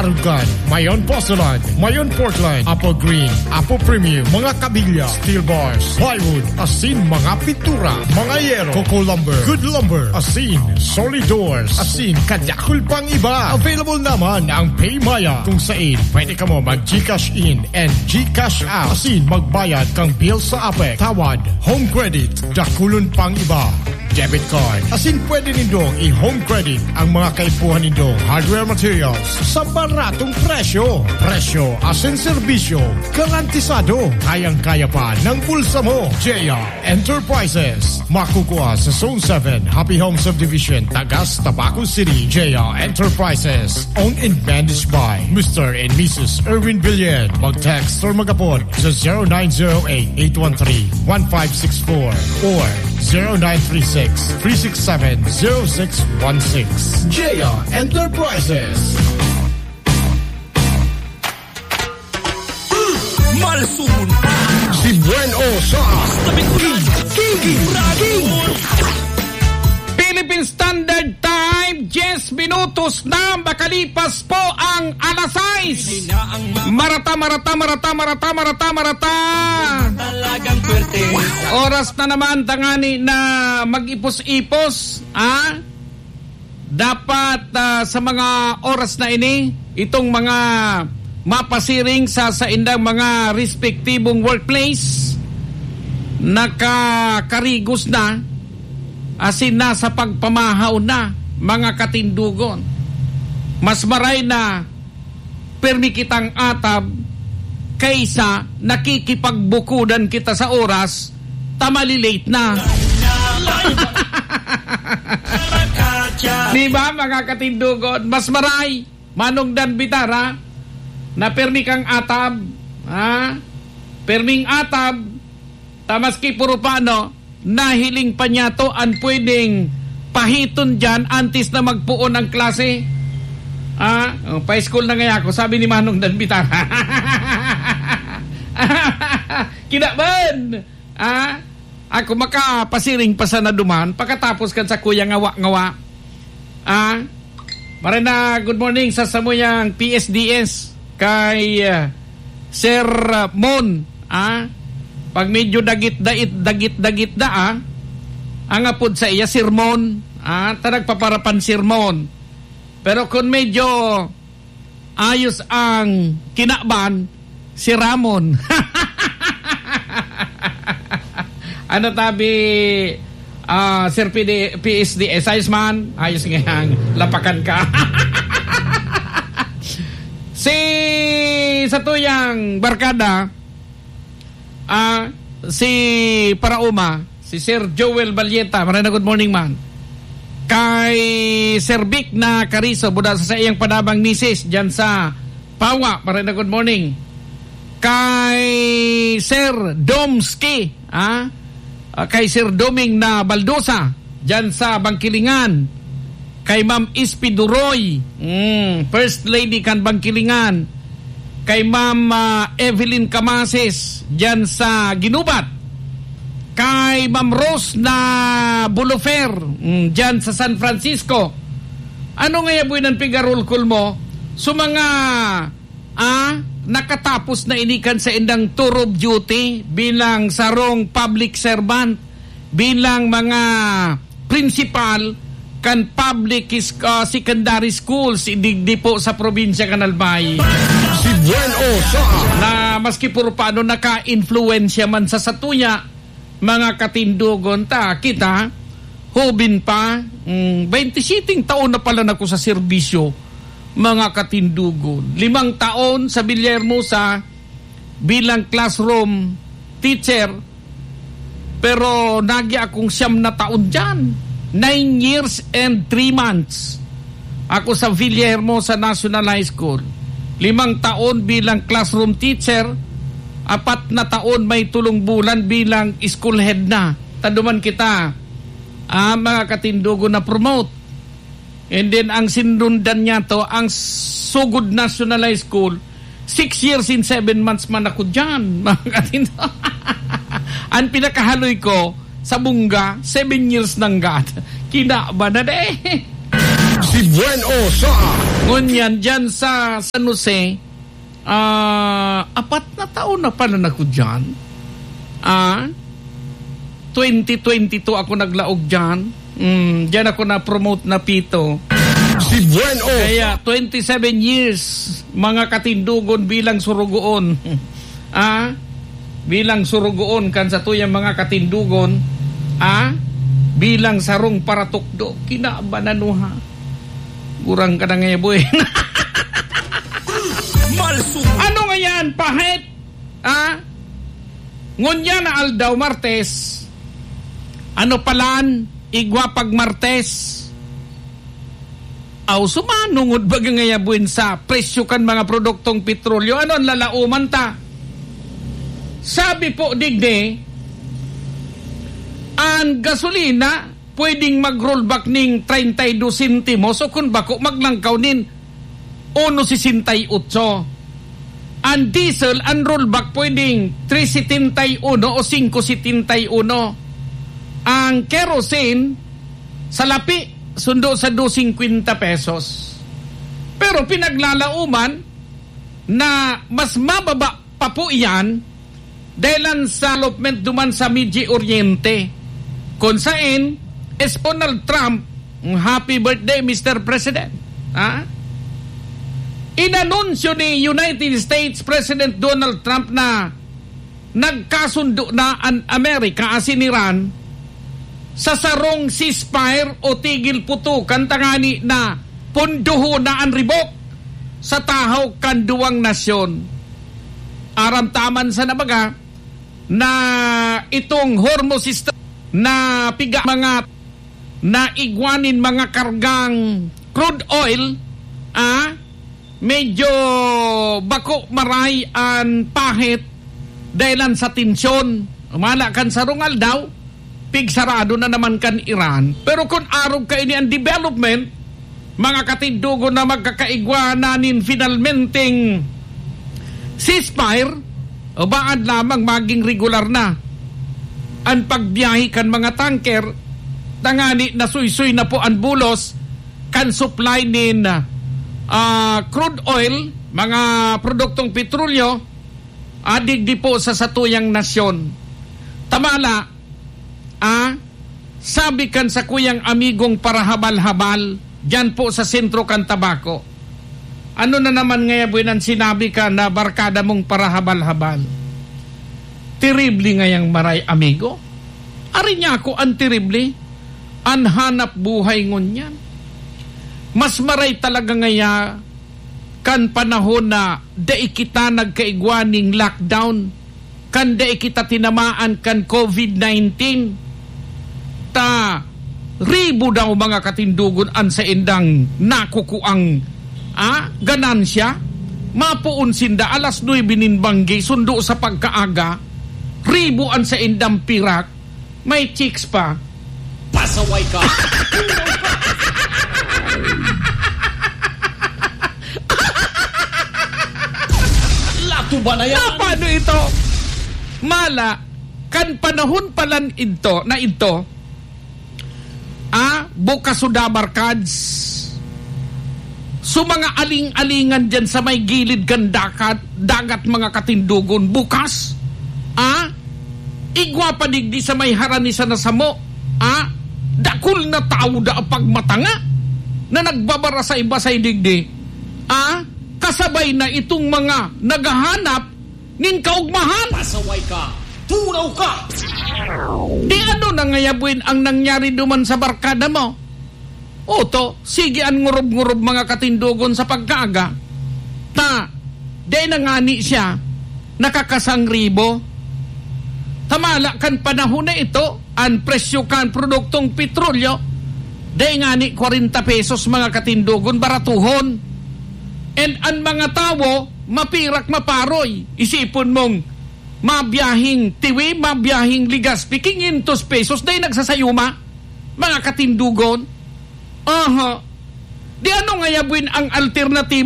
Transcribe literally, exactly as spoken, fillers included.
Arugan, Mayon Porcelain, Mayon Portland, Apple Green, Apple Premium, mga kabilya, steel bars, plywood, asin mga pintura, mga yero, Coco Lumber, Good Lumber, asin solid doors, asin kadakul pang iba. Available naman ang PayMaya, kung sain pwede kamo mag-GCash in and GCash out, asin magbayad kang bill sa APEC, tawad, home credit, dakulon pang iba. Debit card. Asin pwede nindong i-home credit ang mga kaipuhan nindong hardware materials sa baratong presyo. Presyo asin serbisyo garantisado. Kayang-kaya pa ng bulsa mo. J R Enterprises. Makukua sa Zone seven, Happy Home Subdivision, Tagas, Tabaco City. J R Enterprises. Owned and managed by Mister and Missus Erwin Villan. Mag-text or mag-apod sa zero nine zero eight, eight one three, one five six four or zero nine three six, three six seven, zero six one six. J R Enterprises. Malsumon. Si Buen O sa King, King, King. Philippine Standard Time, diyes minutos na makalipas po ang alas sais. Marata, marata, marata, marata, marata, marata. Oras na naman tangani na mag-ipos-ipos, ah? Dapat, ah, sa mga oras na ini, itong mga mapasiring sa saindang mga respektibong workplace, nakakarigos na, asin nasa pagpamahaw na, mga katindogon. Mas maray na permi kitang atab kaysa nakikipagbukudan kita sa oras, ta mali-late na. Di ba, mga katindogon? Mas maray, Manong Dan Bitara, na permi kang atab, ha? Perming atab, ta maski puro pano, nahiling pa niya to an pwedeng pahiton diyan antes na magpoon ang klase. Ah, oh, pa-school na ngaya ako, sabi ni Manong Dan Bitara. Kinaban! Ah, ako makapasiring pa sana duman, pakatapos kan sakuya ngawa-ngawa. Ah, Marena, good morning sa samuyang P S D S kay, ah, Sir, ah, Mon, ah. Pag medyo dagit-dait, dagit-dagit na, ah, ang apod sa iya, Sermon, ah, ta nagpaparapan sermon. Pero kung medyo ayos ang kinaban, si Ramon. Ano tabi, ah, Sir P D, P S D S? Ayos man? Ayos ngayang lapakan ka. Si satuyang barkada, ah, si Paraoma, si Sir Joel Valleta. Marena, good morning, man. Kay Sir Vic na Carizo, buda sa saiyang padabang misis, dyan sa Pawa. Marena, good morning. Kay Sir Domski, ah, ah, kay Sir Doming na Baldosa, dyan sa Bangkilingan. Kay Ma'am Ispi Duroy, mm, First Lady kan Bangkilingan. Kay Ma'am, ah, Evelyn Camases, dyan sa Ginubat. Kay Ma'am Rose na Bulufer, mm, dyan sa San Francisco. Ano nga yaboy nan pigarulkol mo? So, mga, ah, nakatapos na ini kan saindang tour of duty bilang sarong public servant, bilang mga principal kan public is-, ah, secondary schools, digdi po sa probinsya kan Albay. Si Buen O sa Na maski puro paano naka-influensya man sa satuya, mga katindogon ta, kita, hobin pa, mm, baynte siyete taon na pala nako sa serbisyo, mga katindogon. Limang taon sa Villahermosa bilang classroom teacher, pero nagi akong siyam na taon diyan. Nine years and three months ako sa Villahermosa National High School. Limang taon bilang classroom teacher, apat na taon may tolong bulan bilang school head na. Taduman kita, ah, mga katindogon, na promote. And then, ang sinundan niya to, ang Sugod National High School, six years and seven months man ako dyan, mga katindo. Ang pinakahaloy ko, sa Bunga, seven years nanggad. Kinaba na de. Si Buen O sa Ngunyan, dyan sa San Jose, ah, apat na taon na pala ako dyan. Ah, twenty twenty-two ako naglaog dyan. Mm, dyan ako na-promote na pito. Si Buen O. Kaya, twenty-seven years, mga katindogon bilang surugoon. Ah, bilang surugoon kan satuyang mga katindogon, ah, bilang sarong paratukdo, kinabananuha. Gurang ka na nga, boy. Malsum. Ano nga yan, pahit? Ah? Ngunyan na aldaw, Martes. Ano palan? Igwa pag Martes. Aw, sumanungod baga ngaya buin sa presyo kan mga produktong petrolyo? Ano an lalauman ta? Sabi po digdi, an gasolina pwedeng mag-rollback ning treinta y dos sentimos o kun bako maglangkaw nin uno sesenta y ocho. An diesel, an rollback pwedeng tres setenta y uno o singko setenta y uno. Ang kerosene, sa lapi, sundo sa dos singkwenta pesos. Pero pinaglalauman na mas mababa pa po iyan dahilan sa development duman sa Medio Oriente, kun saen si Donald Trump, happy birthday, Mister President, ha? Inanunsyo ni United States President Donald Trump na nagkasundo na an Amerika asin Iran sa sarong ceasefire o tigil putukan tangani na pondohon na an ribok sa tahaw kan duwang nasyon. Aram ta man sana baga na itong Hormuz Strait na piga mga na igwa nin mga kargang crude oil, ah, medyo bako maray an pahit dahilan sa tensyon. Humala kan sarong aldaw, pigsarado na naman kan Iran. Pero kun arog kaini an development, mga katindogon, na magkakaigwa na nin finalmenteng ceasefire, o baad lamang maging regular na an pagbiyahe kan mga tanker, tangani nasuysoy na po an bulos kan supply nin, ah, crude oil, mga produktong petrolyo, ah, digdi po sa satuyang nasyon. Tamala, ah, sabi kan sakuyang amigong parahabal-habal, diyan po sa sentro kan Tabaco. Ano na naman ngaya buin an sinabi kan barkada mong parahabal-habal? Terrible ngayang maray, amigo. Ari niya ako an terrible, an hanap buhay ngunyan. Mas maray talaga ngaya kan panahon na dai kita nagkaigwa ning lockdown, kan dai kita tinamaan kan covid nineteen, ta ribo daw, mga katindogon, an saindang nakukuang, ah, ganansya. Mapoon sinda alas nuebe nin banggi, sundo sa pagkaaga, ribo an saindang pirak, may chicks pa. Pasaway ka. Lato ba na yan? Na, paano ito? Mala, kan panahon palan idto, na idto, ah, bukas suda, barkads. So, mga aling-alingan dyan sa may gilid kan dakat, dagat, mga katindogon, bukas. Ah, igwa pa digdi sa may harani sana samo. Ah, dakul na tawo da pagmatanga na nagbabarasay-basay digdi. Ah, kasabay na itong mga naghahanap nin kaugmahan. Pasaway ka! Turaw ka! Di ano na ngaya buin ang nangyari duman sa barkada mo? Oto, sige an ngurob-ngurob, mga katindogon, sa pagkaaga. Ta, di na ngani siya nakakasangribo. Tamala kan panahon na ito, an presyo kan produktong petrolyo, di ngani kwarenta pesos, mga katindogon, baratuhon. And an mga tawo, mapirak maparoy. Isipon mong, mabiyahing Tiwi, mabiyahing Legazpi, quinientos pesos, dai nagsasayuma, mga katindogon. Aha. Di ano ngaya buin ang alternatiba?